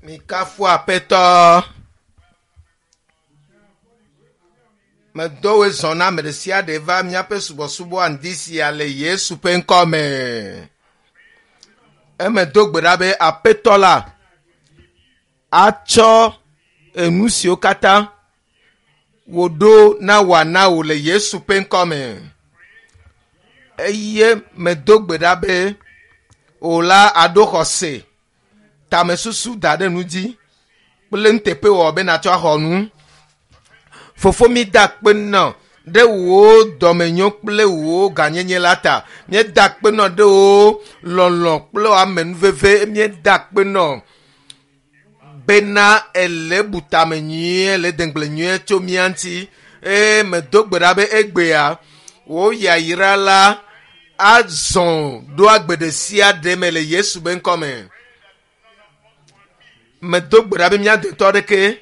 Mikafu Aƒetɔ. Medo woe zɔ na ame ɖe sia ɖe va míaƒe subɔsubɔ ŋdi sia le Yesu ƒe ŋkɔ me. Eme do gbe ɖa be Aƒetɔ la atsɔ enu siwo katã wòɖo na wòana wò le Yesu ƒe ŋkɔ me. Eye medo gbe ɖa be wò la aɖo xɔse, tamesusu da ɖe nu dzi kple nuteƒewɔwɔ be natsɔ axɔ nu. Fofo mi da akpe nɔ ɖe wò dɔmenyo kple wò gãnyenye la ta. Míeda akpe nɔ ɖe wò lɔlɔ̃ kple wò amenuveve. Míeda akpe nɔ bena ele bu tame nyuie, le degble nyuie tso mía ŋuti. Eye medo gbe ɖa be egbea wò yayra la azɔ ɖo agbe ɖe sia ɖe me le Yesu be ŋkɔ me. Medo gbe ɖa be mía dometɔ aɖeke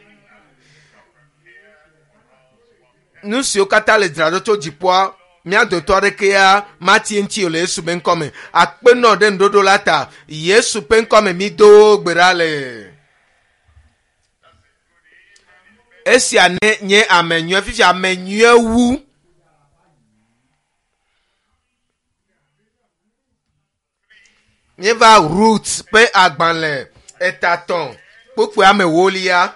nu siwo katã le dzraɖo tso dziƒoa mía dometɔ aɖekea mati eŋuti o le Yesu be ŋkɔ me. Akpe nɔ ɖe nuɖoɖo la ta. Yesu ƒe ŋkɔ me mído gbe ɖa le. Esia ne nye ame nyui fifia ame nyui wu. Míeva Rut ƒe agbalẽ etatɔ̃ kpukpui ame ewolia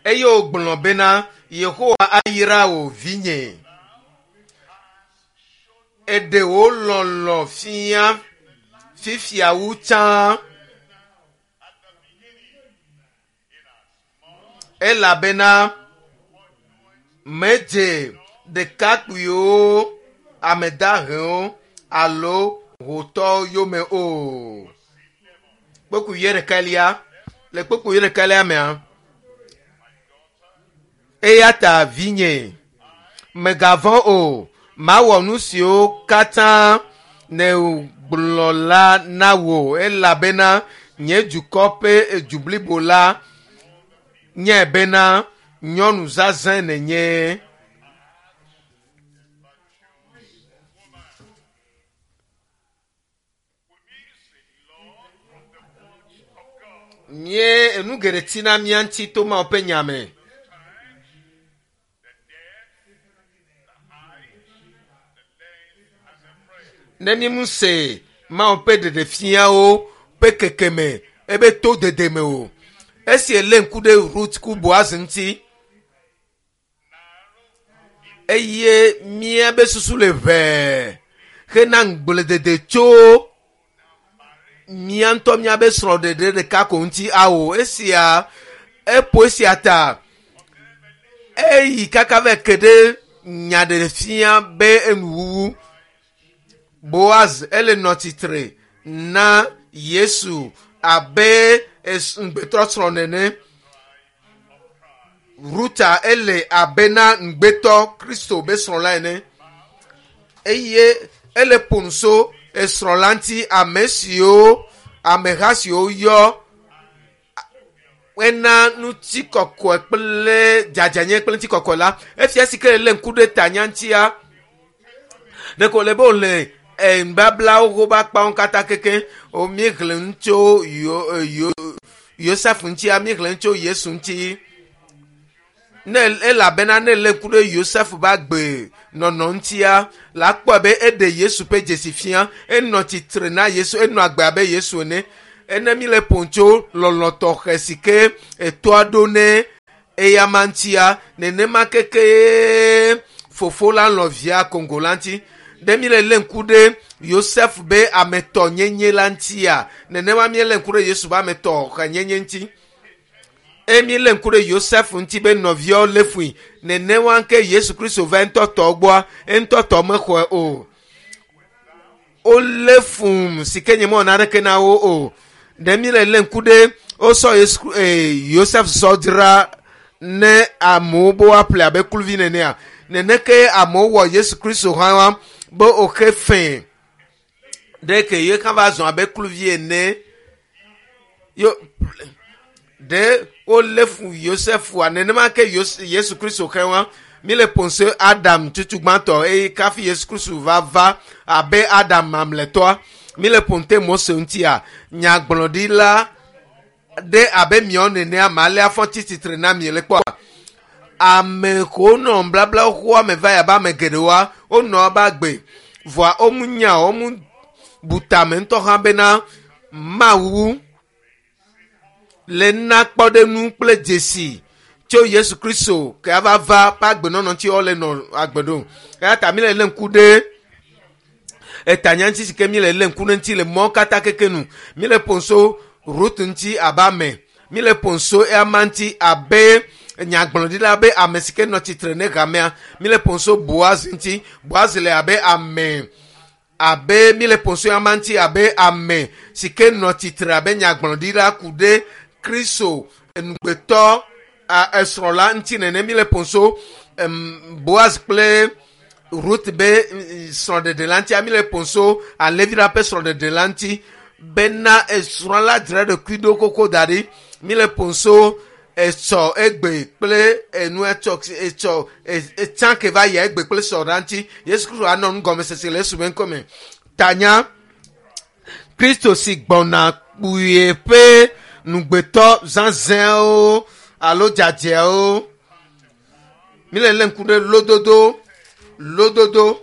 eye wògblɔ bena Yehowa ayra wò vinye. Eɖe wò lɔlɔ̃ fia fifia wu tsã. Elabena medze ɖekakpuiwo, ame dahewo alo hotɔwo yome o. Kpukpui wuiɖekɛlia, le kpukpui wuiɖekɛlia mea, eya ta vinye, mègavɔ̃ o, mawɔ nu siwo katã nègblɔ la na wò, elabena nye dukɔ ƒe du blibo la nyae bena nyɔnu zazɛ̃ nènye. Mie enu geɖe tina mía ŋuti to Mawu ƒe nya me. Ne mímu se Mawu ƒe ɖeɖefiawo ƒe kekeme ebe to dede me o. Esi elé ŋku ɖe Rut ku Boaz ŋuti eye míabe susu le ʋɛɛ hena ŋugbledede tso mía ŋutɔ míabe srɔ̃ɖeɖe ɖeka ko ŋuti awo. Esia eƒo esia ta eyi kaka va ke ɖe nya ɖe fia be enuwuwu. Boaz ele nɔ tsitre na Yesu abe ŋugbetɔ srɔ̃ nene. Ruta ele abe na ŋugbetɔ Kristo be srɔ̃ la ene eye ele ƒo nu so esrɔ̃ la ŋuti ame siwo ameha siwo yɔ ena ŋutikɔkɔe kple dzadzanye kple ŋutikɔkɔe la. Efia si ke lé ŋku ɖe tanya ŋutia ɖeko le be wòle nubablawo ƒe akpawo katã keke. Míexlẽ nu tso Yo Yosef ŋutia, míexlẽ nu tso Yesu ŋuti. Ne elabena ne lé ŋku ɖe Yosef ƒe agbe nɔnɔ ŋutia, la kpɔe be eɖe Yesu ƒe dzesi fia. Enɔ tsitre na Yesu, enɔ agbe abe Yesu ene. Ene míle ƒom tso lɔlɔ̃ tɔxɛ si ke etoa ɖo ne eyama ŋutia, nenema keke fofo la lɔ̃ via Kongo la ŋuti. Ɖe míle lé ŋku ɖe Yosef be ametɔnyenye la ŋutia, nenema míelé ŋku ɖe Yesu be ametɔxɛnyenye ŋuti. Eye míelé ŋku ɖe Yosef ŋuti be nɔviawo lé fui, nenema ke Yesu Kristo va eŋutɔ tɔ gbɔa, eŋutɔ tɔ mexɔe o. Wolé fum si ke nye mewɔ naneke na wo o. Ɖe míle lé ŋku ɖe wosɔ Yesu, Yosef sɔ dzra ne amewo be woaƒle abe kluvi nenea? Neneke amewo wɔ Yesu Kristo hã wa be woxe fẽ ɖe ke ye hã va zɔ abe kluvi ene. Yo, ɖe wolé fu Yosefua nenema ke Yesu Kristo xe wa. Míle ƒom Adam tutu gbãtɔ eye kafi Yesu Kristo va va abe Adam mamlɛtɔa. Míle ƒom te Mose ŋutia, nyagblɔɖila Ɖe abe miawo nenea ma alea fɔ tsi tsitre na mi le kpɔa. Ame ko nɔ nubabla xoxoa me va yi abe ame geɖewoa, wonɔ wobe agbe. Vɔa womu nya o, womu bu tame ŋutɔ hã bena Mawu le na kpɔɖeŋu kple dzesi tso Yesu Kristo ke ava va ƒe agbenɔnɔ ŋuti wole nɔ agbe ɖo. Eya ta mi le lé ŋku ɖe etanya ŋuti si ke mi le lé ŋku ɖe ŋuti le mɔ katã keke nu. Mi le ƒo so Rut ŋuti abe ame. Mi le ƒo so eyama ŋuti abe nyagblɔɖila be ame si ke nɔ tsitre ne hamea. Mi le ƒo so Boaz ŋuti. Boaz le abe ame abe mi le ƒo so eyama ŋuti abe ame si ke nɔ tsitre abe nyagblɔɖila ku ɖe Kristo enugbetɔ esrɔ̃la ŋuti nene. Mi le ƒo so Boaz kple Ruth be srɔ̃ɖeɖe la ŋuti. Mi le ƒo so alẽvi la ƒe srɔ̃ɖeɖe la ŋuti bena esrɔ̃ la dzra ɖokui ɖo koko da ɖi. Mi le ƒo so etsɔ egbe kple enu etsɔ etsɔ etsã ke va yia egbe kple sɔ la ŋuti. Yesu Kristo anɔ nugɔmesese le Yesu ƒe ŋkɔme. Tanya Kristo si gbɔna kpuie ƒe nugbetɔ zazɛ̃wo alo dzadzɛwo. Mi le lé ŋku ɖe lododo lododo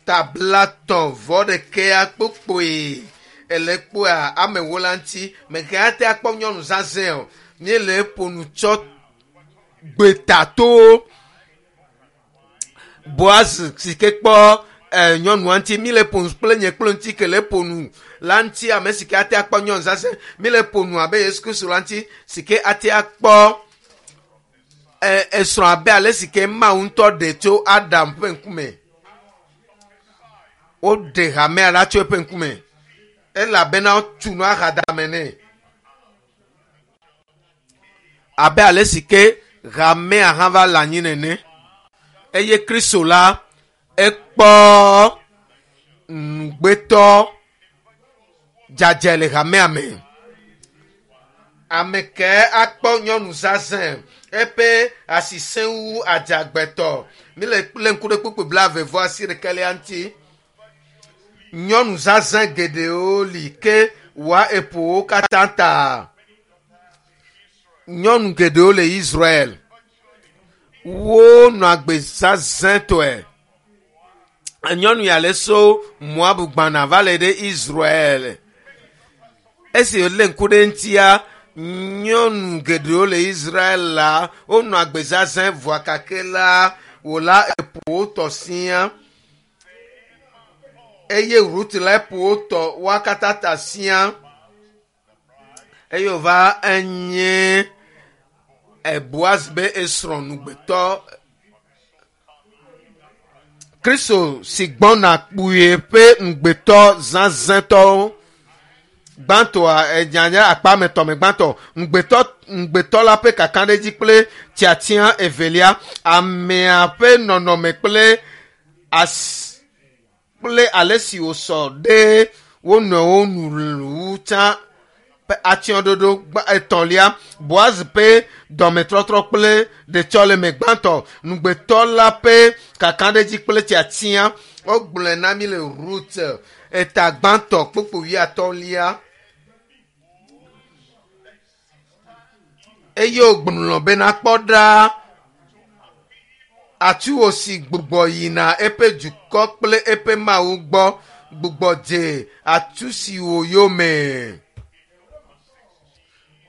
tablatɔ̃ vɔ ɖekea kpokpoe ele kpoa amewo la ŋuti. Mege ate akpɔ nyɔnu zazɛ̃ o. Míele ƒo nu tsɔ gbetato Boaz si ke kpɔ nyɔnua ŋuti. Mi le ƒo nu kple nye kple ŋuti ke le ƒo nu la ŋuti ame si ke ate akpɔ nyɔnu zazɛ̃. Mi le ƒo nu abe Yesu Kristo la ŋuti si ke ate akpɔ esrɔ̃ abe ale si ke Mawu ŋutɔ ɖe tso Adam ƒe ŋkume. Woɖe hamea la tso eƒe ŋkume elabena wotu nu ahadame nɛ. Abe ale si ke hamea hã va le anyi nene. Eye Kristo la ekpɔ nugbetɔ dzadzɛ le hamea me. Ame ke akpɔ nyɔnu zazɛ̃ eƒe asi sẽŋu adzagbetɔ. Mi le lé ŋku ɖe kpukpui blaeve vɔ asi ɖekɛlia ŋuti. Nyɔnu zazɛ̃ geɖewo li ke wòa eƒo wo katã ta. Nyɔnu geɖewo le Israel. Wonɔ agbe zazɛ̃tɔe. Nyɔnu ya le so Moab gbana va le ɖe Israel. Esi wòlé ŋku ɖe ŋutia, nyɔnu geɖewo le Israel la, wonɔ agbe zazɛ̃ vɔa gake la, wò la eƒo wo tɔ siaa. Eye Ruth la eƒo wo tɔ woa katã ta siaa. Eye wòva enye Boaz be esrɔ̃ nugbetɔ. Kristo si gbɔna kpuie ƒe nugbetɔ zazɛ̃tɔwo. Gbãtɔa edzanye akpa me tɔ me gbãtɔ nugbetɔ nugbetɔ la ƒe kakaɖedzi kple tiatia evelia amea ƒe nɔnɔme kple as kple ale si wòsɔ ɖe wo nɔewo nu wu tsã ƒe atsyɔ̃ɖoɖo etɔ̃lia Boaz ƒe dɔmetɔtrɔ kple ɖetsɔleme gbãtɔ nugbetɔ la ƒe kakaɖedzi kple tiatia wogblɔe na mi le Rut eta gbãtɔ kpukpui wuiatɔ̃lia. Eye wògblɔ bena kpɔ ɖa atuwò si gbugbɔ yina eƒe dukɔ kple eƒe Mawu gbɔ gbugbɔ dze atu siwo yome.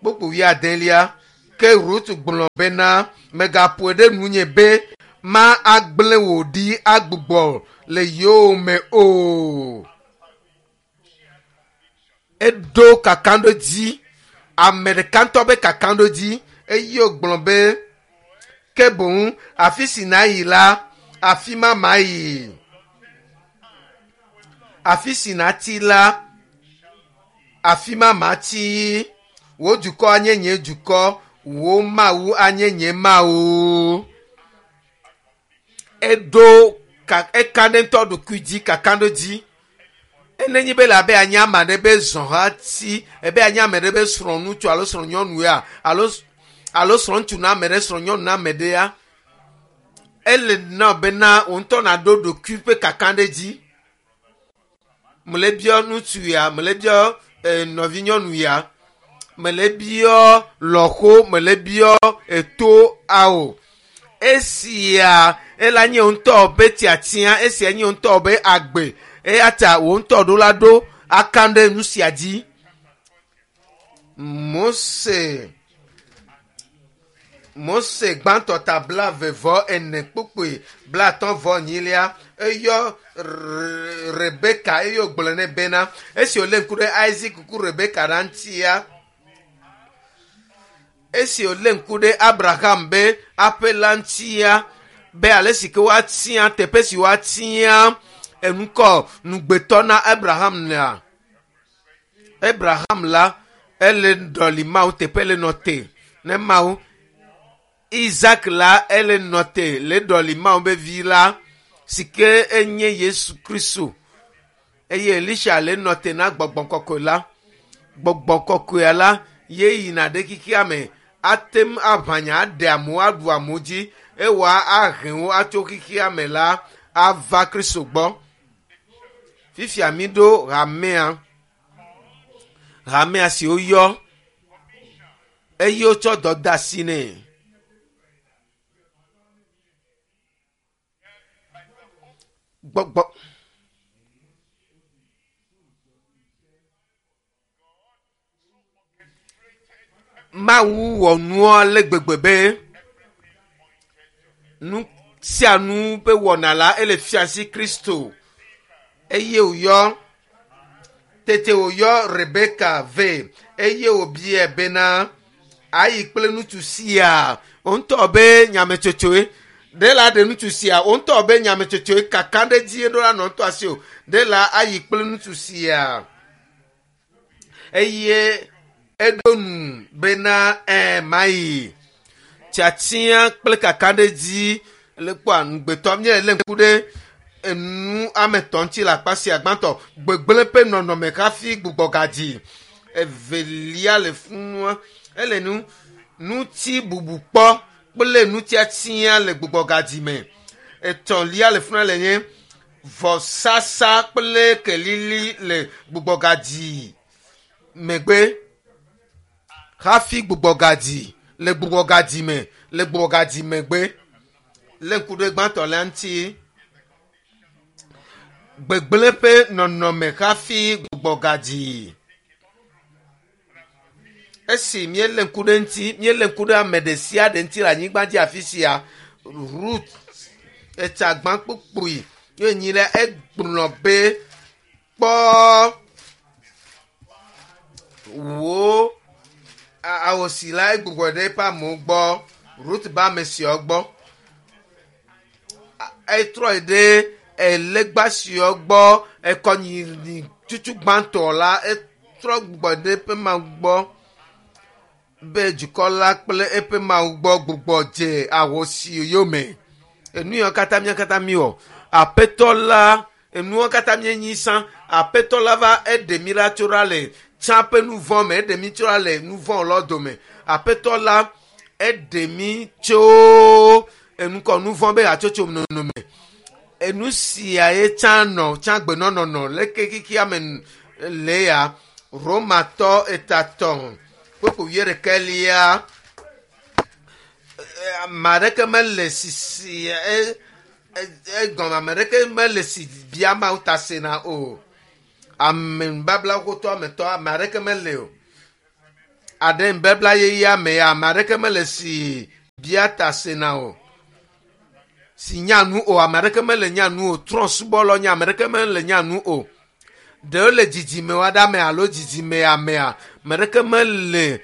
Kpukpui wuiadelia ke Rut gblɔ bena megaƒoe ɖe nunye be ma agblẽ wò ɖi agbugbɔ le yowòme o. Eɖo kakaɖedzi ame ɖeka ŋutɔ be kakaɖedzi eye wògblɔ be ke boŋ afi si nàyi la afi ma mayi. Afi si nàtsi la afi ma matsi. Wò dukɔ anye nye dukɔ, wò Mawu anye nye Mawu. Eɖo ka eka ɖe ŋutɔ ɖokui dzi kakaɖedzi. Enenyi be le abe anye ame aɖe be zɔhati, ebe anye ame ɖe be srɔ̃ŋutsu alo srɔ̃nyɔnu ya alo alo srɔ̃ŋutsu na ame ɖe srɔ̃nyɔnu na ame ɖe ya. Ele na bena wò ŋutɔ nàɖo ɖokui ƒe kakaɖedzi. Mele biɔ ŋutsu ya, mele biɔ nɔvinyɔnu ya. Mele biɔ lɔƒo, mele biɔ eto ao. Esia ela nye ŋutɔ be tiatia, esia nye ŋutɔ be agbe. Eya ta wò ŋutɔ ɖo la ɖo aka ɖe nu sia dzi. Mose gbãtɔ ta 24 kpukpui 58 eyɔ Rebeka eye wògblɔ nɛ bena esi wòlé ŋku ɖe Isaac ku Rebeka ɖa ŋutia, esi wòlé ŋku ɖe Abraham be aƒe la ŋutia, be ale si ke woatia teƒe si woatia enukɔ nugbetɔ na Abraham lea, Abraham la ele ɖɔli Mawu teƒe le nɔ te ne Mawu. Isaac la ele nɔ te le ɖɔli Mawu be vi la si ke enye Yesu Kristo. Eye Elisha le nɔ te na gbɔgbɔ kɔkɔe la. Gbɔgbɔ kɔkɔea la ye yina ɖe xexea me ate ŋu aʋanya aɖe amewo aɖu amewo dzi ewɔ ahe wo atso xexea me la ava Kristo gbɔ. Fifia mi ɖo hamea. Hamea si woyɔ eye wotsɔ dɔ de asi nɛ. Gbɔgbɔ. Mawu wɔ nua le gbegbe be nu sia nu be wɔna la ele fia si Kristo eye wòyɔ tete wòyɔ Rebeka vɛ eye wòbiae bena ayi kple ŋutsu sia wo ŋutɔ be nyametsotsoe ɖe la ɖe ŋutsu sia wo ŋutɔ be nyametsotsoe kaka ɖe dzi ɖo la nɔ ŋutɔ asi o ɖe la ayi kple ŋutsu sia eye eɖo nu bena mayi tiatia kple kaka ɖe dzi le kpɔa nugbetɔ míele lé ŋku ɖe enu ame etɔ̃ ŋuti le akpa sia gbãtɔ gbegblẽ ƒe nɔnɔme hafi gbugbɔgadzi evelia le funua ele nu ŋuti bubu kpɔ kple nutiatia le gbugbɔgadzi me etɔ̃lia le funua le nye vɔsasa kple kelili le gbugbɔgadzi megbe hafi gbugbɔgadzi le gbugbɔgadzi me le gbugbɔgadzi megbe le ŋku ɖe gbãtɔ la ŋuti gbegblẽ ƒe nɔnɔme hafi gbugbɔgadzi. Esi míelé ŋku ɖe ŋuti, míelé ŋku ɖe ame ɖe sia ɖe ŋuti le anyigba dzi afi sia, Rut etsagbã kpukpui ye nyi ɖe egblɔ be kpɔ wò awosi la egbugbɔ ɖe eƒe amewo gbɔ, Rut be ame siawo gbɔ. Etrɔ yi ɖe elegba siawo gbɔ, ekɔnyinyi tutu gbãtɔ la etrɔ gbugbɔ ɖe eƒe Mawu gbɔ be dukɔ la kple eƒe Mawu gbɔ gbugbɔ dze ahosi yome. Enu yawo katã mía katã míwɔ. Aƒetɔ la enuwo katã míenyi sã. Aƒetɔ la va eɖe mí ɖa tso ɖa le tsã ƒe nu vɔ̃ me, eɖe mí tso ɖa le nu vɔ̃ lɔ dome. Aƒetɔ la eɖe mí tso enukɔ nu vɔ̃ be hatsotso nɔnɔ me. Enu sia ye tsã nɔ tsã gbenɔnɔnɔ leke xexea me le ya. Romatɔ etatɔ̃ kpukpui wuiɖekɛlia ame aɖeke mele sisi egɔme ame aɖeke mele si bia Mawu ta sena o. Ame nubabla xotɔ ametɔ ame aɖeke mele o. Aɖe nubabla yeyea me ya ame aɖeke mele si bia ta sena o. Si nya nu o ame aɖeke mele nya nu o. Trɔ̃subɔlɔ nye ame aɖeke mele nya nu o. Ɖewo le dzidzime aɖe me alo dzidzime amea ame aɖeke mele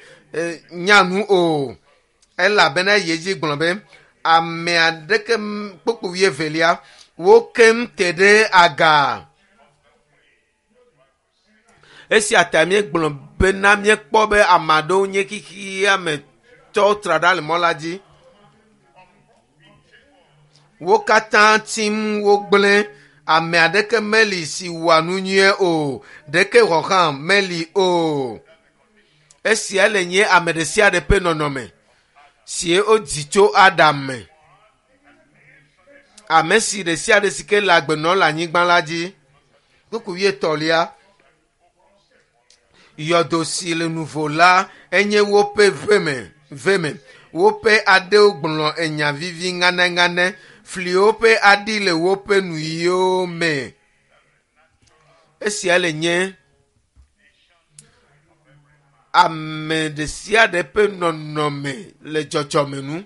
nya nu o. Elabena eyi edzi gblɔ be ame aɖeke kpukpui wuievelia wo keŋ te ɖe aga. Esia ta míegblɔ bena míekpɔ be ame aɖewo nye xexea me tɔwo tra ɖa le mɔ la dzi. Wo katã tim wogblẽ. Ame aɖeke meli si wɔa nu nyuie o. Ɖeke hɔ̃ hã meli o. Esia le nye ame ɖe sia ɖe ƒe nɔnɔme si wodzi tso Adam me. Ame si ɖe sia ɖe si ke le agbe nɔm le anyigba la dzi. Kpukpui wuietɔ̃lia. Yɔdo si le nuvo la Enye woƒe veme veme. Woƒe aɖewo gblɔ enya vivi ŋanɛŋanɛ. Fliwo ƒe aɖi le woƒe nuyiwo me. Esia le nye ame ɖe sia ɖe ƒe nɔnɔme le dzɔdzɔme nu.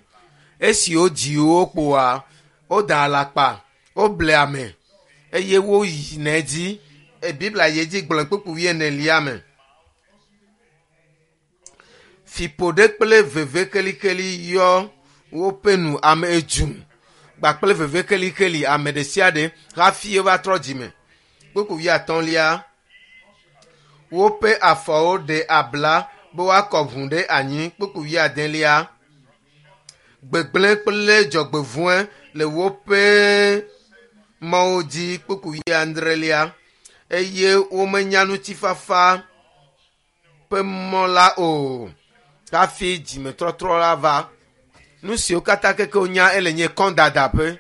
Esi wodzi wo kpoa, woda alakpa, woble ame eye woyina edzi. Biblia yi edzi gblɔ kpukpui wuienelia me. Fiƒode kple veve kelikeli yɔ woƒe nu ame edzu kpakple veve kelikeli ame ɖe sia ɖe hafi wova trɔ dzime. Kpukpui wuiatɔ̃lia woƒe afɔwo ɖe abla be woakɔ ʋu ɖe anyi. Kpukpui wuiadelia gbegblẽ kple dzɔgbevɔ̃e le woƒe mɔwo dzi. Kpukpui wuiadrelia eye womenya ŋutifafa ƒe mɔ la o hafi dzimetɔtrɔ la va. Nu siwo katã keke wonya ele nye kɔdada ƒe.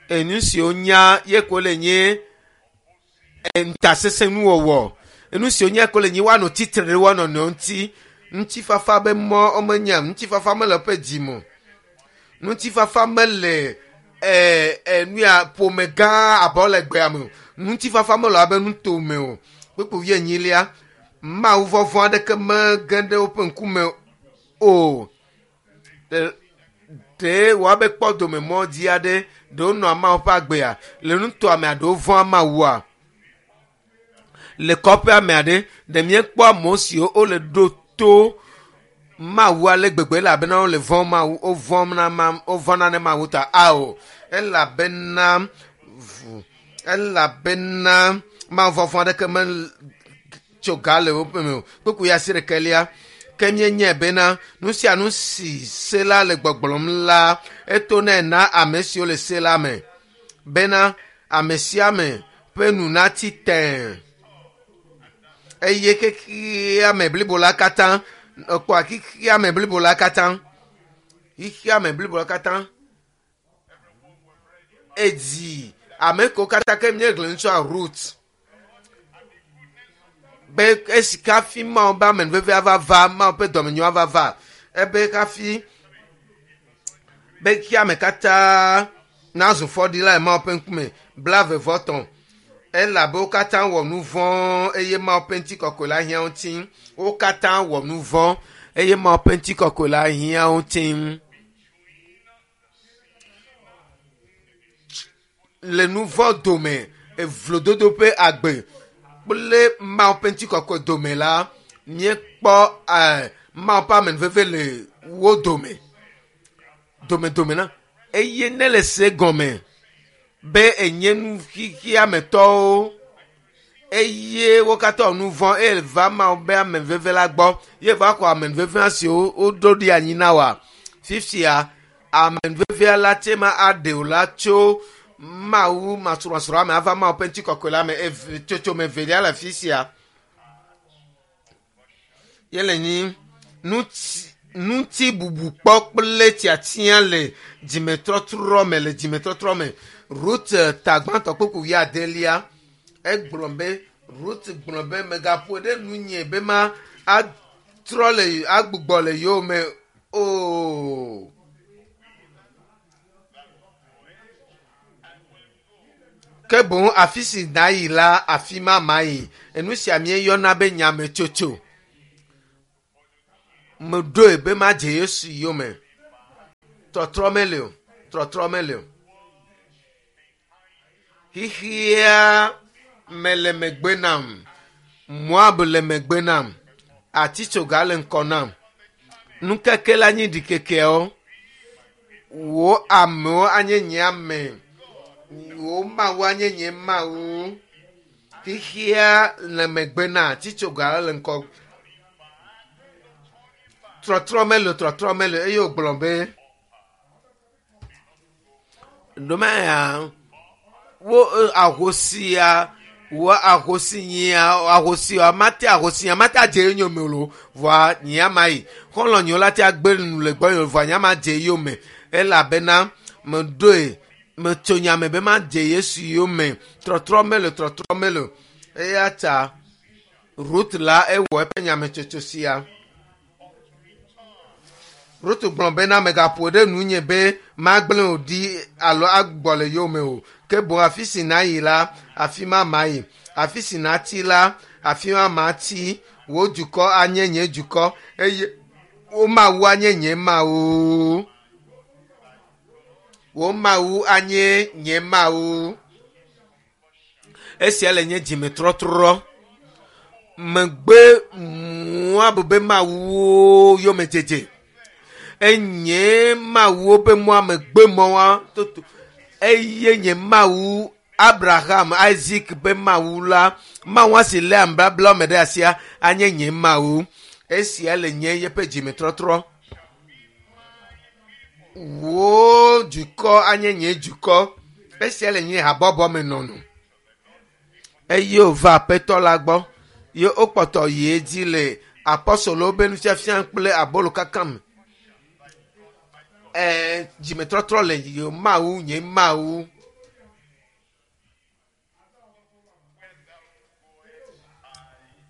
Enu siwo nya ye ko le nye ŋutasesẽnuwɔwɔ. Enu siwo nya ko le nye woanɔ tsitre ɖe woa nɔnɔewo ŋuti. Ŋutifafa be mɔ womenya. Ŋutifafa mele woƒe dzi me o. Ŋutifafa mele nu ya ƒome gã abɔ le gbea me o. Ŋutifafa mele abe nutome o. Kpukpui wuienyilia Mawu vɔvɔ̃ aɖeke mege ɖe woƒe ŋkume o. Ɖe woabe kpɔ dome mɔ dzi aɖe ɖewo nɔa Mawu ƒe agbea le nutoa mea ɖewo vɔ̃a Mawua. Le kɔƒea mea ɖe ɖe míekpɔ amewo siwo wole ɖo to Mawu ale gbegbe elabena wole vɔ̃ Mawu wovɔ̃na ma wovɔ̃na ne Mawu ta ao elabena elabena Mawu vɔvɔ̃ aɖeke metso ga le woƒe me o. Kpukpui asiɖekelia ke míenyae bena nu sia nu si se la le gbɔgblɔm la eto nɛ na ame siwo le se la me bena ame sia ame ƒe nu nati tẽe eye xexea me blibo la katã ekpɔa xexea me blibo la katã xexea me blibo la katã edzi ame kewo katã ke míexlẽ nu tso Rut be esi hafi Mawu ƒe amenuveve ava va Mawu ƒe dɔmenyo ava va ebe hafi be xexea me katã nazu fɔɖila le Mawu ƒe ŋkume 28 elabe wo katã wɔ nu vɔ̃ eye Mawu ƒe ŋutikɔkɔe la hiã wo ŋuti. Wo katã wɔ nu vɔ̃ eye Mawu ƒe ŋutikɔkɔe la hiã wo ŋuti. Le nu vɔ̃ dome, evlododo ƒe agbe kple Mawu ƒe ŋutikɔkɔe dome la, míekpɔ Mawu ƒe amenuveve le wo dome. Domedome na eye ne le se gɔme be enye nu xexeametɔwo eye wo katã wɔ nu vɔ̃ eye va Mawu be amenuveve la gbɔ ye va xɔ amenuveve siwo woɖo ɖi anyi na woa. Fifia amenuvevea la te ma aɖe wò la tso Mawu masrɔ̃srɔ̃a me ava Mawu ƒe ŋutikɔkɔe la me eve tsotsome evelia le afi sia. Ye le nyi ŋuti bubu kpɔ kple tiatia le dzimetɔtrɔ me le dzimetɔtrɔ me. Rut ta gbãtɔ kpukpui wuiadelia egblɔ be Rut gblɔ be megaƒoe ɖe nunye be ma atrɔ le agbugbɔ le yowòme o. Ke boŋ afi si nàyi la, afi ma mayi. Enu sia míeyɔna be nyametsotso. Meɖoe be madze Yesu yome. Trɔtrɔ meli o. Trɔtrɔ meli o. Xexea me le megbe nam. Moab le megbe nam. Atitsoga le ŋkɔ nam. Nukeke la nye ɖikekeawo. Wò amewo anye nye ame. Wò Mawu anye nye Mawu. Xexea le megbe na atitsoga le ŋkɔ. Trɔtrɔ meli o, trɔtrɔ meli o eye wògblɔ be ɖomaya wo ahosia wo ahosi nyia ahosia mate ahosia mate adze yonyome o lo vɔa nyea ma yi xɔlɔ̃ nyewo la te agbe nu le gbɔnye vɔa nyea ma dze yome elabena meɖoe metso nya me be madze Yesu yome trɔtrɔ meli o trɔtrɔ meli o eya ta Rut la ewɔ eƒe nyametsotso sia. Rutu gblɔ bena megaƒo ɖe nunye be magblẽ wò ɖi alo agbɔ le yowòme o. Ke boŋ afi si nàyi la, afi ma mayi. Afi si nàtsi la, afi ma matsi. Wò dukɔ anye nye dukɔ eye wò Mawu anye nye Mawu. Wò Mawu anye nye Mawu. Esia le nye dzimetrɔtrɔ. Megbe Moab be mawuwo yomedzedze. Enye mawuwo be mɔa megbe mɔa toto. Eye nye Mawu Abraham, Isaac be Mawu la, Mawu si léa nubabla me ɖe asia anye nye Mawu. Esia le nye yeƒe dzimetrɔtrɔ. Wò dukɔ anye nye dukɔ. Esia le nye habɔbɔ me nɔnɔ. Eye wòva Aƒetɔ la gbɔ ye wokpɔtɔ yi edzi le apɔstolowo be nufiafia kple abolo kaka me. Ɛɛ dzimetrɔtrɔ le ye Mawu nye Mawu.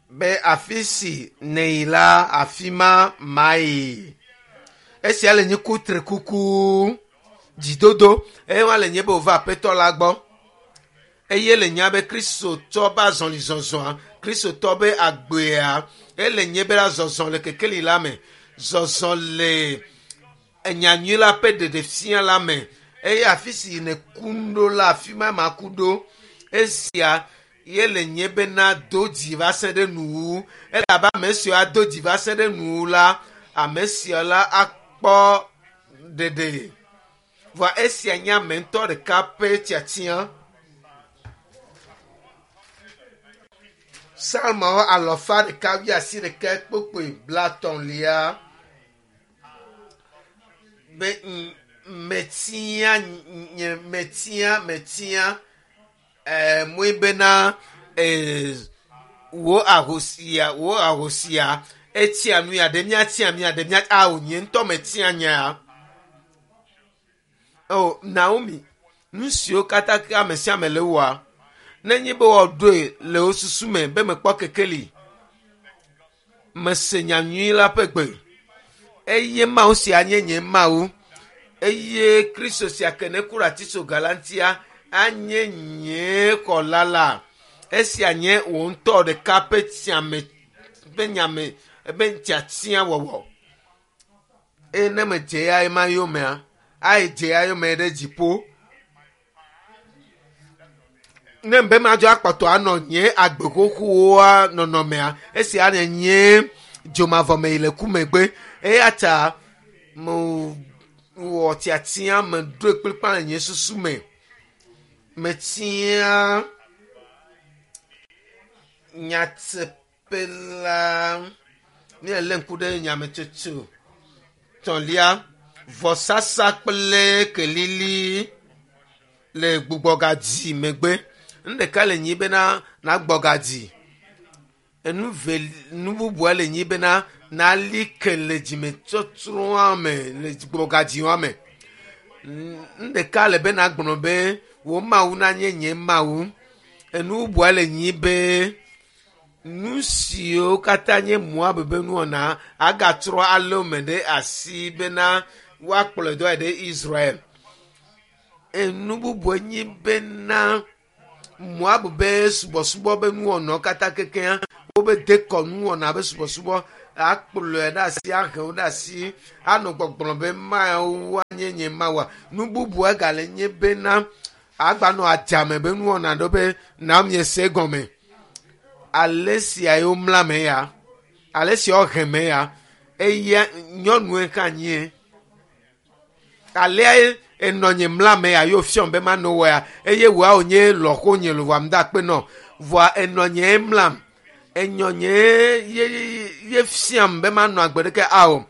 Be afi si nèyi la, afi ma mayi. Esia le nye kutrikuku, dzidodo eye wa le nye be wòva Aƒetɔ la gbɔ. Eye le nya be Kristotɔ be azɔlizɔzɔa, Kristotɔ be agbea, ele nye be la zɔzɔ le kekeli la me, zɔzɔ le enyanyui la ƒe ɖeɖefia la me. Eye afi si nèku ɖo la, afi ma maku ɖo. Esia ye le nye bena do dzi va se ɖe nuwu. Elabe ame siwo ado dzi va se ɖe nuwu la, ame sia la akpɔ ɖeɖe. Vɔa esia nye ame ŋutɔ ɖeka ƒe tiatia. Psalmawo alɔfa ɖeka wuiasiɖeke kpokpoe blatɔ̃lia be metia nye metia metia ɛɛ moe bena ee wò ahosia wò ahosia etia nu ya ɖe míatia mía ɖe mía ao nye ŋutɔ metia nyea. O Naomi, nu siwo katã ke ame sia ame le wɔa, nenye be woaɖoe le wo susu me be mekpɔ kekeli, mese nya nyui la ƒe gbe eye Mawu sia nye nye Mawu eye Kristo sia ke ne ku ɖe atitsoga la ŋutia anye nye xɔla la. Esia nye wò ŋutɔ ɖeka ƒe tiame ƒe nyame ƒe tiatia wɔwɔ. Eye ne medze ya ema yomea, ayi dze ya yome ɖe dziƒo. Ne be madzɔ akpɔtɔ anɔ nye agbe xoxoa nɔnɔmea, esia nye nye dzomavɔ me yi le ku megbe. Eya ta mewɔ tiatia meɖoe kplikpaa le nye susu me. Metia nyateƒe la. Míelé ŋku ɖe nyametsotso tɔ̃lia, vɔsasa kple kelili le gbugbɔgadzi megbe. Nu ɖeka le nyi bena nagbɔ gadzi. Enu ve nu bubua le nyi bena nali ke le dzimetɔtrɔa me le gbugbɔgadziwa me. Nu ɖeka le be nagblɔ be wò Mawu nanye nye Mawu. Enu bubua le nyi be nu siwo katã nye Moab be nuwɔna agatrɔ alé wo me ɖe asi bena woakplɔe do ayi ɖe Israel. Enu bubue nyi bena Moab be subɔsubɔ be nuwɔnawo katã kekeŋ wobe dekɔnuwɔna be subɔsubɔ akplɔe ɖe asi ahe wo ɖe asi anɔ gbɔgblɔ be Mawu anye nye Mawua. Nu bubua gale nye bena agbanɔ adzame be nuwɔna ɖo be Naomi se gɔme. Ale sia ye womla me ya, ale sia wohe me ya, eya nyɔnue hã nye. Alea ye enɔ nye mla me ya ye wofiam be manɔ wɔ ya eye wòa wònye lɔƒo nye lo vɔa mda akpe nɔ. Vɔa enɔ nye mlam, enyɔ nye ye ye fiam be manɔ agbe ɖeke ao.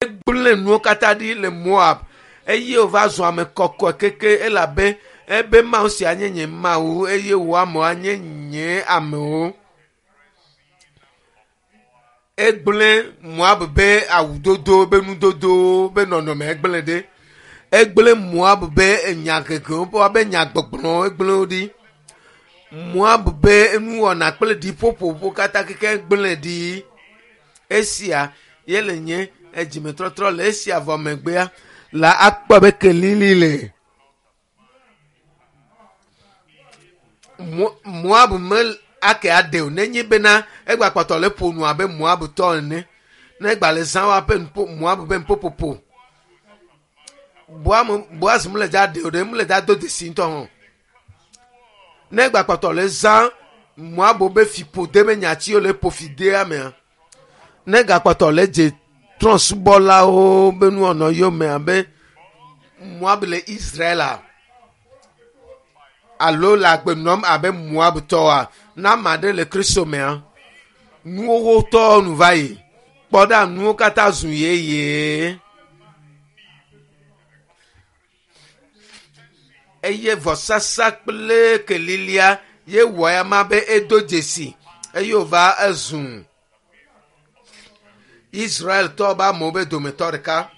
Egblẽ nuwo katã ɖi le Moab eye wòva zu ame kɔkɔe keke elabe ebe Mawu sia nye nye Mawu eye wò amewo anye nye amewo. Egblẽ Moab be awudodo be nudodowo be nɔnɔme egblẽ ɖe. Egblẽ Moab be enyahehewo be nyagbɔgblɔwo egblẽ wo ɖi. Moab be nuwɔna kple ɖiƒoƒowo katã keke egblẽ ɖi. Esia ye le nye Edzimetrɔtrɔ le esia vɔ megbea la akpɔ be kelili le. Moab me ake aɖe o nenye bena egba kpɔtɔ le ƒo nu abe Moab tɔ ene. Ne egba le zã wa ƒe nuƒo Moab be nuƒoƒoƒo. Boaz mele dza ɖe o ɖe mele dza do dzesi ŋutɔ hã. Ne egba kpɔtɔ le zã Moab be fiƒode be nyatiwo le ƒo fi dea mea. Ne egakpɔtɔ le dze trɔ̃subɔlawo be nuwɔnɔ yome abe Moab le Israel alo le agbe nɔm abe Moab tɔa, na ame aɖe le Kristo mea, nuwo tɔ nu va yi. Kpɔ ɖa, nuwo katã zu yeye. Eye vɔsasa kple kelilia ye wɔ ya ma be edo dzesi eye wòva ezu Israeltɔ be amewo be dometɔ ɖeka.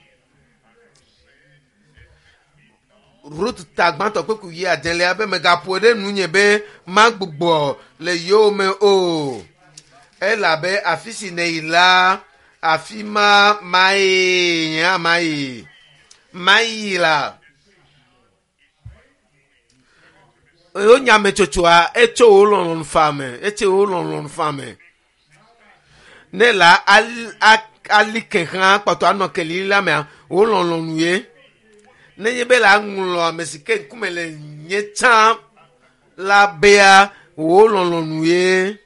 Rut ta gbãtɔ kpekpe yi adelia be megaƒoe ɖe nunye be magbugbɔ le yowòme o. Elabe afi si nèyi la, afi ma mayi nye hã mayi. Mayi la. Wo nyametsotsoa etso wo lɔlɔ̃nu faa me. Etso wo lɔlɔ̃nu faa me. Ne la ali ke hã kpɔtɔ anɔ kelili la mea, wo lɔlɔ̃nu ye. Nenye be la ŋlɔ ame si ke ŋkume le nye tsã la bea, wo lɔlɔ̃nu ye.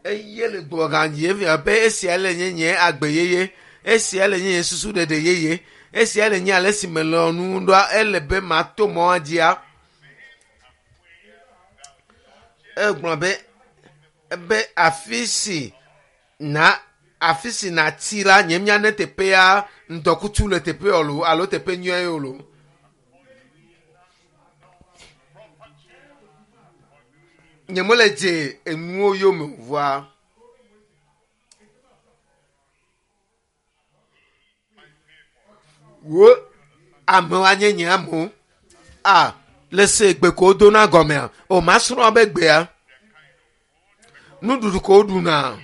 Eye le gbɔgã dzi efia be esia le nye nye agbe yeye, esia le nye nye susu ɖeɖe yeye, esia le nye ale si melɔ̃ nu ɖoa, ele be mato mɔa dzia. Egblɔ be afi si na afi si natsi la, nye mía ne teƒea ŋdɔkutsu le teƒe o alo teƒe nyuie o lo. Nye mele dze enuwo yome o vɔa. Wo amewo anye nye amewo. A le se gbe ko wodona gɔmea, o masrɔ̃ be gbea. Nuɖuɖu ko woɖuna,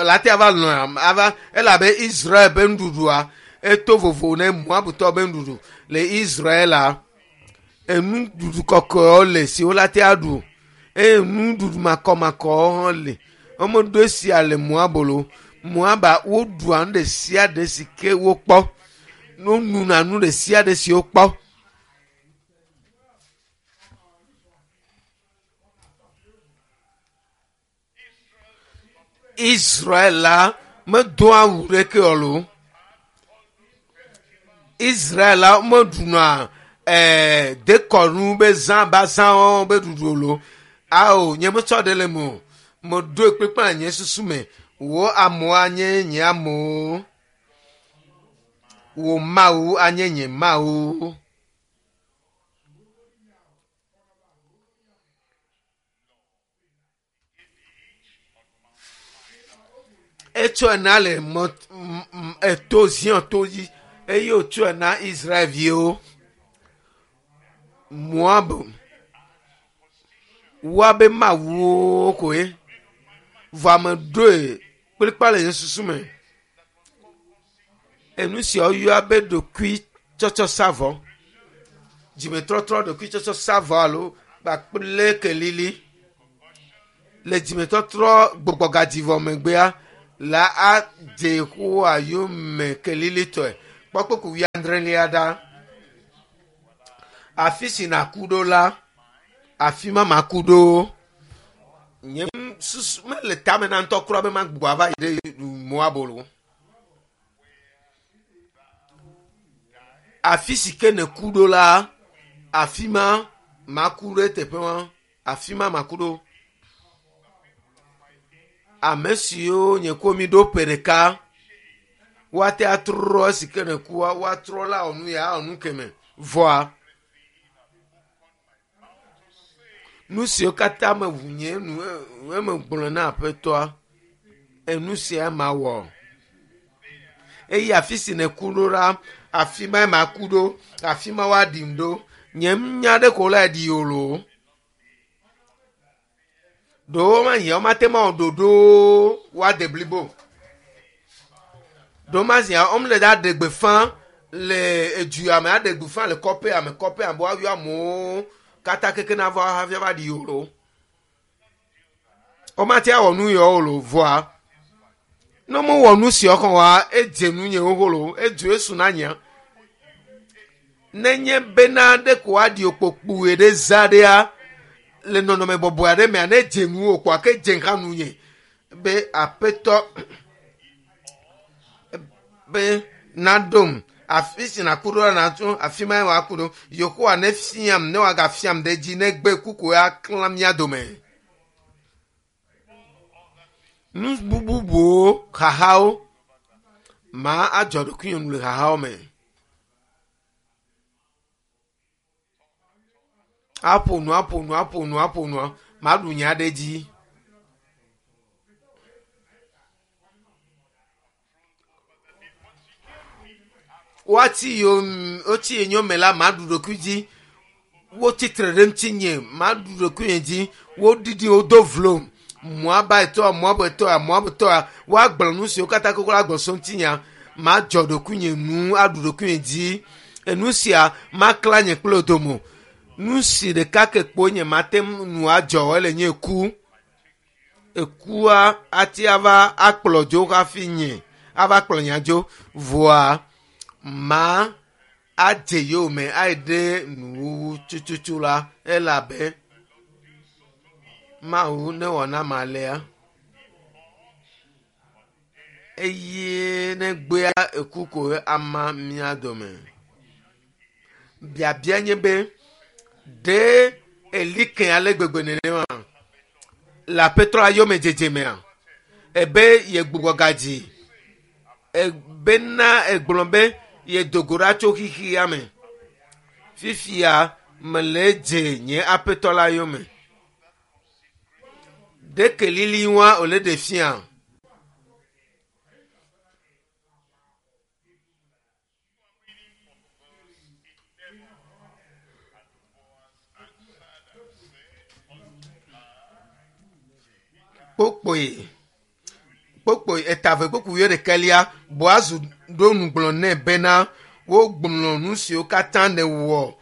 la te ava lɔ̃a, ava elabe Israel be nuɖuɖua eto vovo ne Moabtɔ be nuɖuɖu. Le Israel la, enuɖuɖu kɔkɔewo le si wola te aɖu eye nuɖuɖu makɔmakɔwo hã le. Womeɖo esia le Moab lo. Moaba woɖua nu ɖe sia ɖe si ke wokpɔ. Wonuna nu ɖe sia ɖe si wokpɔ. Israel la medoa awu ɖeke o lo. Israel la meɖuna dekɔnu be zã ba zãwo be ɖuɖu o lo. Ao, nye metsɔ ɖe le me o. Meɖoe kplikpaa le nye susu me. Wo amewo anye nye amewo. Wo Mawu anye nye Mawu. Etsɔe na le mɔ eto Zion to dzi eye wòtsɔe na Israelviwo. Moab woabe mawuwo koe. Vɔ ame ɖoe kplikpa le nye susu me. Enu sia woyɔa be ɖokuitsɔtsɔ savɔ. Dzimetɔtrɔ ɖokuitsɔtsɔ savɔ alo kpakple kelili. Le dzimetɔtrɔ gbugbɔgadzi vɔ megbea la adze Yehowa yome kelilitɔe. Kpɔ kpukpui wuiadrelia ɖa. Afi si nàku ɖo la, afi ma maku ɖo. Nye susu mele tame na ŋutɔ kura be magbugbɔ ava yi ɖe Moab o. Afi si ke nèku ɖo la, afi ma maku ɖe teƒe ma. Afi ma maku ɖo. Ame siwo nye ko mi ɖo ƒe ɖeka, woate atrɔ esi ke nèkua, woatrɔ la wɔ nu ya awɔ nu keme. Vɔa, nu siwo katã meʋu nye nu eme gblɔ na aƒetɔa, enu sia mawɔ. Eye afi si nèku ɖo la, afi ma maku ɖo, afi ma woaɖim ɖo. Nye nya ɖe ko la ɖi o lo. Ɖewo ma hiã womate ma wɔ ɖoɖo woade blibo. Ɖomazia wɔm le ɖa ɖe gbeƒã le edua me aɖe gbeƒã le kɔƒea me kɔƒea me woayɔ amewo katã keke nava hafi ava ɖi o lo. Womate awɔ nu yawo o lo vɔa ne mewɔ nu siawo kɔ wa edze nu nye xoxo lo edzo esu na nyea. Nenye bena ɖe ko aɖi okpokpoe ɖe za ɖea le nɔnɔme bɔbɔe aɖe mea ne dze nu o kpoa ke dze hã nu nye be aƒetɔ be naɖom afi si naku ɖo la natso afi ma wòaku ɖo Yehowa ne fiam ne wòagafiam ɖe edzi ne gbe kuku aklã mía dome. Nu bubuwo xaxawo ma adzɔ ɖokuinye nu le xaxawo me. Aƒo nu aƒo nu aƒo nu aƒo nua maɖu nya ɖe dzi. Woati yom wotsi yonyome la maɖu ɖokui dzi. Wotsi tre ɖe ŋutinye maɖu ɖokuinye dzi. Woɖiɖi wodo vlom. Moabaetɔa Moabetɔa Moabetɔa woagblɔ nu siwo katã koko la gblɔ so ŋutinya. Madzɔ ɖokuinye nu aɖu ɖokuinye dzi. Enu sia maklã nye kple wò dome. Nu si ɖeka ke kpo nye mate ŋu nu adzɔ ele nye ku. Ekua ati ava akplɔ dzo hafi nye ava kplɔ nya dzo vɔa ma adze yowòme ayi ɖe nuwuwu tututu la elabe Mawu newɔ na ame alea eye ne gbea eku ko ama mía dome. Biabia nye be ɖe eli ke ale gbegbe nenema le aƒetɔ la yome dzedze mea? Ebe yegbugbɔ gadzi ebena egblɔ be yedo go ɖa tso xixia me. Fifia mele dze nye aƒetɔ la yome. Ɖe kelili wa wòle ɖe fia? Kpokpoe kpokpoe etave kpokpoe wuiɖekɛlia Boazu ɖo nu gblɔ nɛ bena wogblɔ nu siwo katã nèwɔ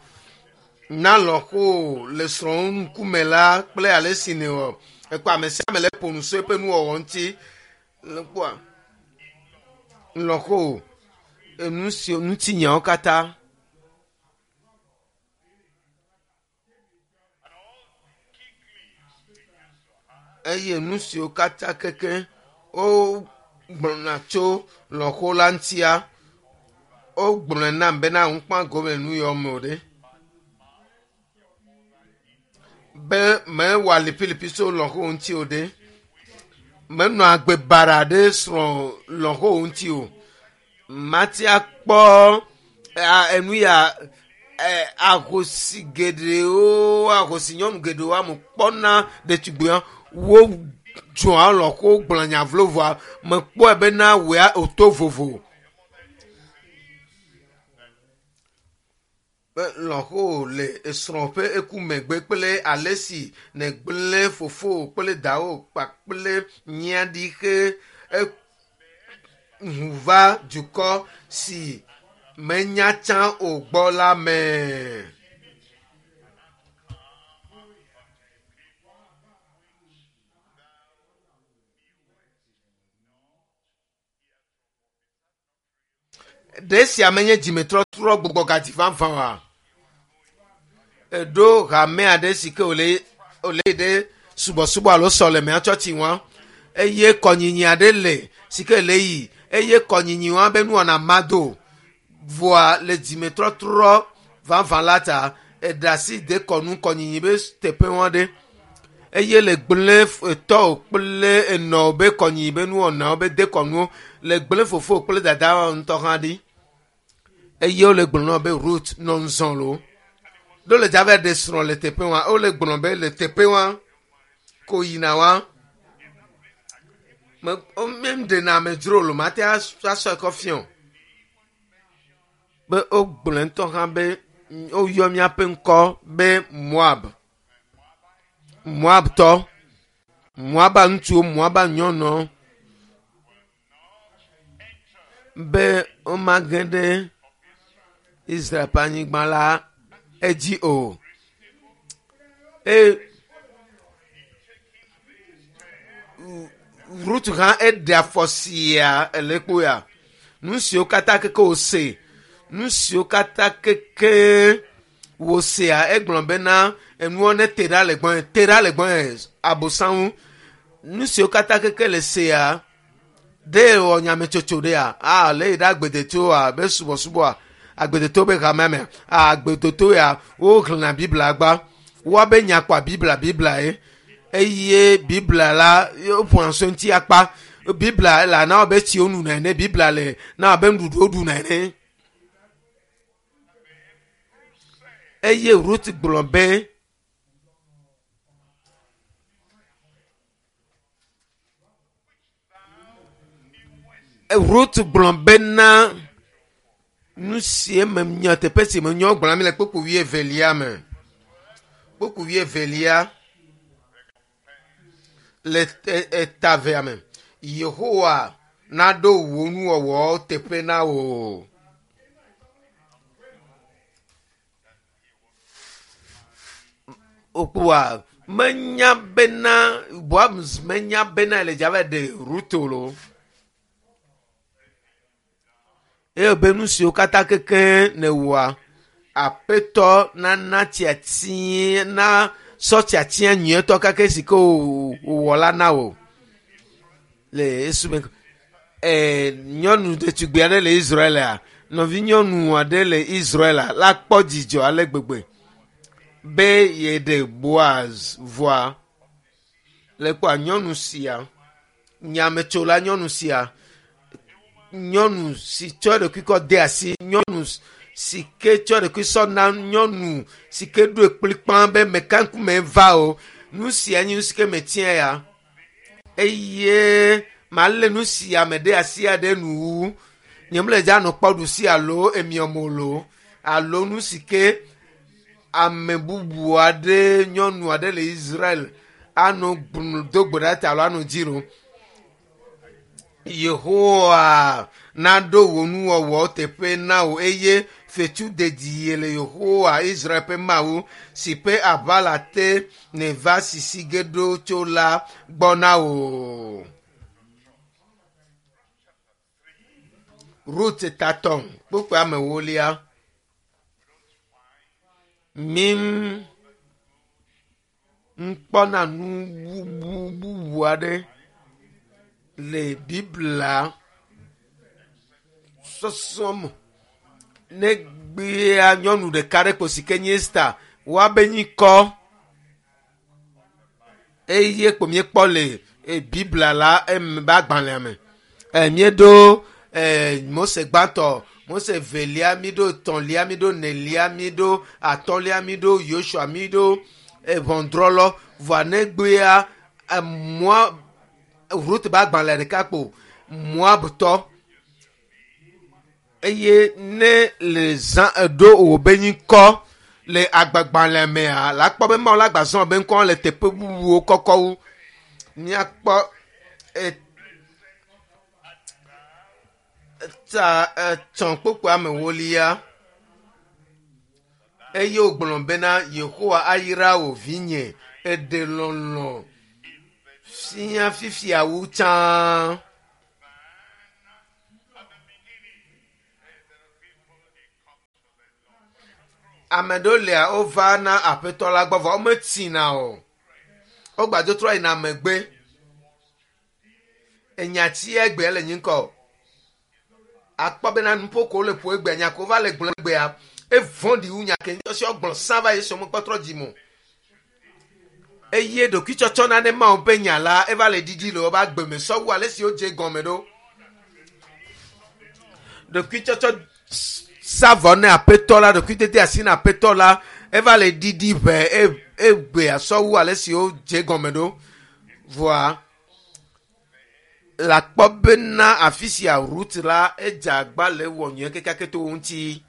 na lɔ̃xo le srɔ̃wo ŋkume la kple ale si nèwɔ. Ekpɔ ame sia ame le ƒo nu so eƒe nuwɔwɔ ŋuti. Le kpɔa lɔ̃xo enu siwo ŋutinyawo katã. Eye nu siwo katã keke wogblɔna tso lɔ̃xo la ŋutia, wogblɔe nam bena ŋukpã gome le nu yawo me o ɖe. Be mewɔ alipilipi tso lɔ̃xo ŋuti o ɖe. Menɔ agbe baɖa ɖe srɔ̃ lɔ̃xo ŋuti o. Mate akpɔ enu ya ahosi geɖewo ahosi nyɔnu geɖewo ame kpɔna ɖetugbuiwo wodzɔa lɔ̃xo gblɔ nya vlo vɔa mekpɔe bena wòya wòto vovo. Be lɔ̃xo le esrɔ̃ ƒe eku megbe kple ale si nègblẽ fofowò kple dawò kpakple nyia ɖi xe ʋu va dukɔ si menya tsã o gbɔ la me. Ɖe esia menye dzimetrɔtrɔ gbugbɔgadzi vavã oa? Eɖo hame aɖe si ke wòle wòle yi ɖe subɔsubɔ alo sɔlemea tsɔtsi ŋua eye kɔnyinyi aɖe le si ke le yi eye kɔnyinyi wa be nuwɔna mado vɔa le dzimetrɔtrɔ vavã la ta eɖe asi de kɔnu kɔnyinyi be teƒe wa ɖe eye le gblẽ etɔwò kple enɔwò be kɔnyinyi be nuwɔnawo be dekɔnuwo le gblẽ fofowò kple dada ŋutɔ hã ɖi eye wole gblɔ na be Ruth nɔ ŋzɔ lo ɖo le dza va ɖe srɔ̃ le teƒe wa wole gblɔ be le teƒe wa ko yina wa me ɖena amedzro lo mate asɔ ekɔ fiɔ be wogblɔ ŋutɔ hã be woyɔ míaƒe ŋkɔ be Moab Moabtɔ Moaba ŋutsuwo Moaba nyɔnuwo. Be womage ɖe Israel ƒe anyigba la edzi o. Eye Rut hã eɖe afɔ sia ele kpo ya. Nu siwo katã keke wòse, nu siwo katã keke wòsea, egblɔ bena enuwo nete ɖa le gbɔnye, te ɖa le gbɔnye, abosam ŋu. Nu siwo katã keke le sea, ɖe wɔ nyametsotso ɖea? Ah, le yi ɖe agbedetoa be subɔsubɔa, agbedeto be hamea mea, ah, agbedeto ya woxlẽna Biblia gba. Woabe nya kpɔa Biblia, Biblia ye. Eye Biblia la woƒoa so ŋuti akpa. Biblia le na be tsi wonuna ene, Biblia le na be nuɖuɖu woɖuna ene. Eye Ruth gblɔ be Ruth gblɔ bena nu si me nya teƒe si me nyɔ gblɔ mi le kpukpui wuievelia me. Kpukpui wuievelia le etavea me. Yehowa naɖo wò nuwɔwɔwo teƒe na wò. Okpoa menya bena Boaz menya bena le dza va ɖe Ruth o lo. Eye be nu siwo katã keke nèwɔa, Aƒetɔ nana tiatia na sɔ tiatia nyuietɔ kake si ke wòwɔ la na wò. Le esu me nyɔnu ɖetugbui aɖe le Israelia, nɔvinyɔnu aɖe le Israelia la kpɔ dzidzɔ ale gbegbe be yeɖe Boaz vɔa le kpɔa nyɔnu sia, nyametsola nyɔnu sia, nyɔnu si tsɔ eɖokui kɔ de asi, nyɔnu si ke tsɔ eɖokui sɔ na nyɔnu si ke ɖoe kplikpaa be meka ŋkume va o. Nu sia nye nu si ke metia ya. Eye malé nu sia me ɖe asi aɖe nuwu. Nye mele dza nɔ kpɔ ɖusi alo emiɔmo lo alo nu si ke ame bubu aɖe nyɔnu aɖe le Israel anɔ do gbe ɖa ta alo anɔ dzi lo. Yehowa naɖo wò nuwɔwɔ teƒe na wò eye fetu dedie le Yehowa Israel ƒe Mawu si ƒe aʋala te nèva sisi ge ɖo tso la gbɔ na wò. Rut tatɔ̃ kpukpui ame ewolia. Mi ŋkpɔna nu bubu aɖe le Biblia sɔsɔ me. Negbea nyɔnu ɖeka ɖe ko si ke nye Esta, woabe nyikɔ eye ko míekpɔ le Biblia la eme be agbalẽa me. Míeɖo Mose gbãtɔ, Mose velia, míeɖo etɔ̃lia, míeɖo enelia, míeɖo atɔ̃lia, míeɖo Yosua, míeɖo ʋɔnudrɔ̃lɔ. Vɔa negbea Moab, Rut be agbalẽ ɖeka kpo Moabtɔ. Eye ne le zã eɖo wò be nyikɔ le agbagbalẽ mea, la kpɔ be Mawu la gbazɔ be ŋkɔ le teƒe bubuwo kɔkɔ wu. Míakpɔ ta etɔ̃ kpukpui ame ewolia. Eye wògblɔ bena Yehowa ayra wò vinye, eɖe lɔlɔ̃ fia fifia wu tsã. Ame ɖewo lia wova na aƒetɔ la gbɔ vɔ wometsina o. Wogbadzo trɔ yina megbe. Enyati egbea le nyi ŋkɔ. Akpɔ bena nuƒo ko wole ƒo egbea, nya ko wova le gblɔ egbea, evɔ̃ɖi wu nya ke ŋutɔ si wogblɔ sã va yi esi womekpɔ trɔ dzi me o. Eye ɖokuitsɔtsɔ nane Mawu ƒe nya la eva le ɖiɖi le woƒe agbe me sɔwu ale si wodze gɔme ɖo. Ɖokuitsɔtsɔ savɔ ne aƒetɔ la, ɖokuitete asi na aƒetɔ la eva le ɖiɖi ʋɛ egbea sɔwu ale si wodze gɔme ɖo. Vɔa le akpɔ bena afi sia Rut la edze agba le ewɔ nyuie kekeake to wo ŋuti.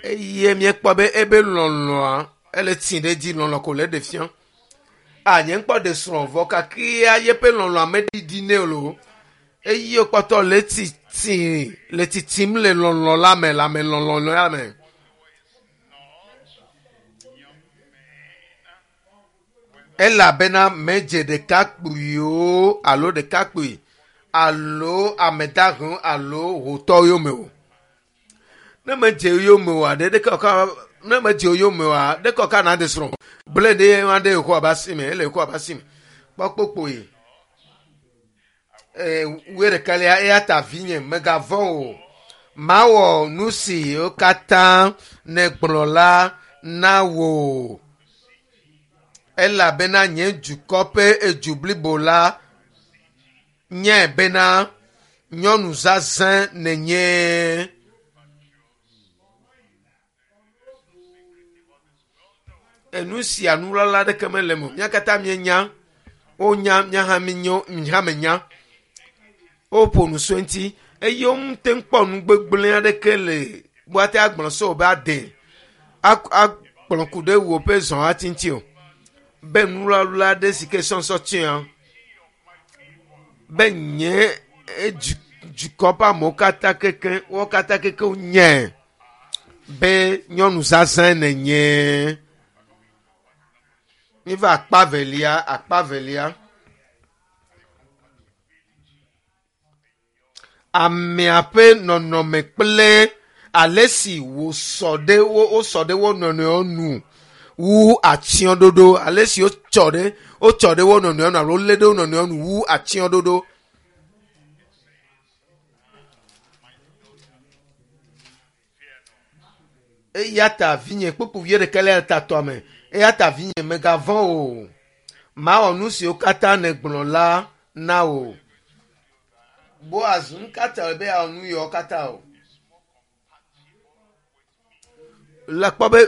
Eye míekpɔ be ebe lɔlɔ̃a ele tsi ɖe edzi, lɔlɔ̃ ko le eɖe fia. A nye ŋkpɔ ɖe srɔ̃ vɔ kakia yeƒe lɔlɔ̃a meɖiɖi nɛ o loo. Eye wòkpɔtɔ le titi le titim le lɔlɔ̃ la me le ame lɔlɔ̃ la me. Elabena medze ɖekakpuiwo alo ɖekakpui alo ame dahewo alo hotɔwo yome o. Ne medze yome oa, ɖe ɖeke wòka ne medze yome oa, ɖeke wòka na ɖe srɔ̃. Ble ɖe wa ɖe Yehowa be asi me, ele Yehowa be asi me. Kpɔ kpokpoe. Ee, wuiɖekɛlia, eya ta vinye, mègavɔ̃ o. Mawɔ nu siwo katã nègblɔ la na wò. Elabena nye dukɔ ƒe edu blibo la nyae bena nyɔnu zazɛ̃ nènye. Enu sia nuwlala aɖeke mele eme o. Mía katã míenya, wonya, mía hã míenyo, mí hã menya. Woƒo nu so eŋuti eye womete ŋu kpɔ nu gbegblẽ aɖeke le woate agblɔ so be ade akplɔ ku ɖe wò ƒe zɔhati ŋuti o. Be nuwlawla aɖe si ke sɔsɔ tsiã be nye dukɔ ƒe amewo katã keke wo katã keke wonyae be nyɔnu zazɛ̃ nènye. Míva akpa velia, akpa velia. Amea ƒe nɔnɔme kple ale si wòsɔ ɖe wo wosɔ ɖe wo nɔnɔewo nu wu atsyɔ̃ɖoɖo ale si wotsɔ ɖe wotsɔ ɖe wo nɔnɔewo nu alo wolé ɖe wo nɔnɔewo nu wu atsyɔ̃ɖoɖo. Eya ta vinye kpukpu wuiɖekɛ le tatɔa me. Eya ta vinye mègavɔ̃ o. Mawɔ nu siwo katã nègblɔ la na wò. Boaz, nu ka ta wòle be yeawɔ nu yawo katã o? Le kpɔ be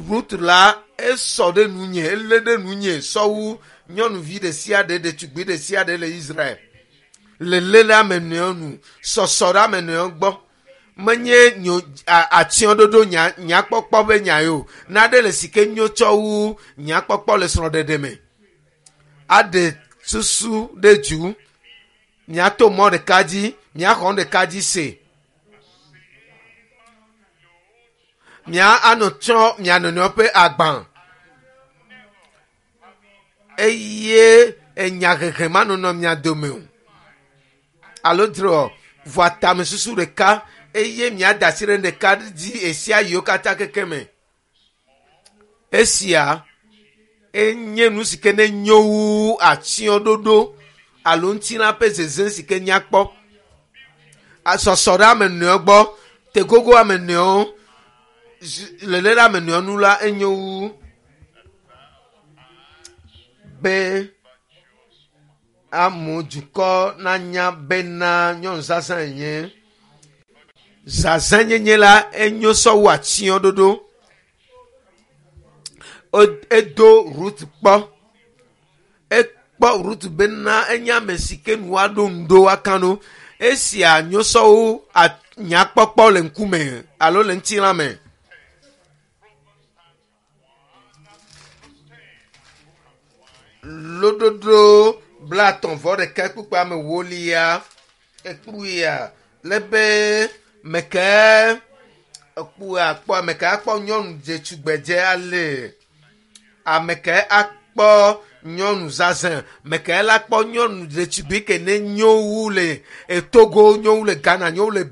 Rut la esɔ ɖe nunye, elé ɖe nunye sɔ wu nyɔnuvi ɖe sia ɖe, ɖetugbui ɖe sia ɖe le Israel. Lelé ɖe ame nɔewo nu, sɔsɔ ɖe ame nɔewo gbɔ. Menye nyo atsyɔ̃ɖoɖo nya nyakpɔkpɔ ƒe nya ye o. Naɖe le si ke nyo tsɔ wu nyakpɔkpɔ le srɔ̃ɖeɖe me. Aɖe susu ɖe dzu. Miato mɔ ɖeka dzi, miaxɔ nu ɖeka dzi se. Mia anɔ tsɔ mia nɔnɔewo ƒe agba. Eye enyahehe manɔnɔ mia dome o. Alo dzro vɔa tamesusu ɖeka eye miada asi ɖe ɖeka dzi esia yiwo katã keke me. Esia enye nu si ke ne nyo wu atsyɔ̃ɖoɖo alo ŋutilã ƒe zeze si ke nyakpɔ. Asɔsɔ ɖe ame nɔewo gbɔ, tegogo ame nɔewo, lele ɖe ame nɔewo nu la enyo wu be amewo dukɔ nanya bena nyɔnu zazã yenye. Zazãnyenye la enyo sɔ wu atsyɔ̃ɖoɖo. Edo Rut kpɔ. Ekpɔ Rut bena enye ame si ke nu woaɖo ŋu ɖo woaka ɖo. Esia nyo sɔ wu nyakpɔkpɔ le ŋkume alo le ŋutilã me. Lododo blaetɔ̃ vɔ ɖeka kpukpui ame ewolia ekpuia le be meke ekpua akpɔ ame ke akpɔ nyɔnu dzetugbedze ale ame ke akpɔ nyɔnu zazɛ̃ ame ke la kpɔ nyɔnu ɖetugbui ke ne nyo wu le Togo, nyo wu le Ghana, nyo wu le.